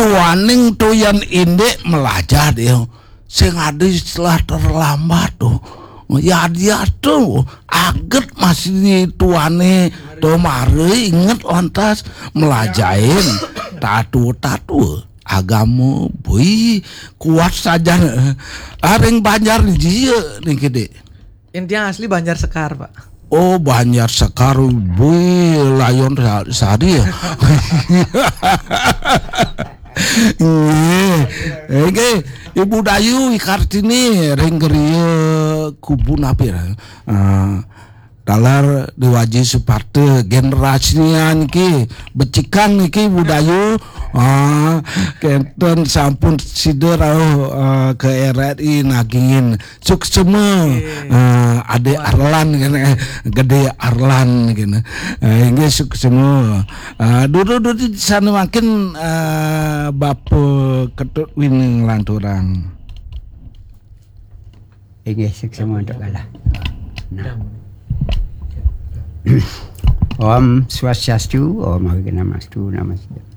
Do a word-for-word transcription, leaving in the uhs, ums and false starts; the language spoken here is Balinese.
Waning to yan indik melajah dia. Sing ada istilah terlambat to. Ya dia to aget masih tuane to mare inget lantas melajahin tatua-tatua agama bui kuat saja. Aring Banjar jia niki, Dik. Intinya asli Banjar Sekar, Pak. Oh, Banjar Sekar, bui layon sa- sari ya. Nggih. Nggih, Ibu Dayu Kartini ring griya kubu napi ra? Ah, taler Dewaji Suparta generasinya niki becikan niki Ibu Dayu. Ah, kenten sampun sida rauh ah, ke R R I nagingin suksema. Ah, Ade Arlan kene, Gede Arlan kene. Ah, inggih suksema. Ah, dulu dulu sana makin ah, Bapa Ketut Wining Lanturang. Inggih, suksema untuk kalah. Nah. Om Swastiastu, Om Awighnamastu, Namaste.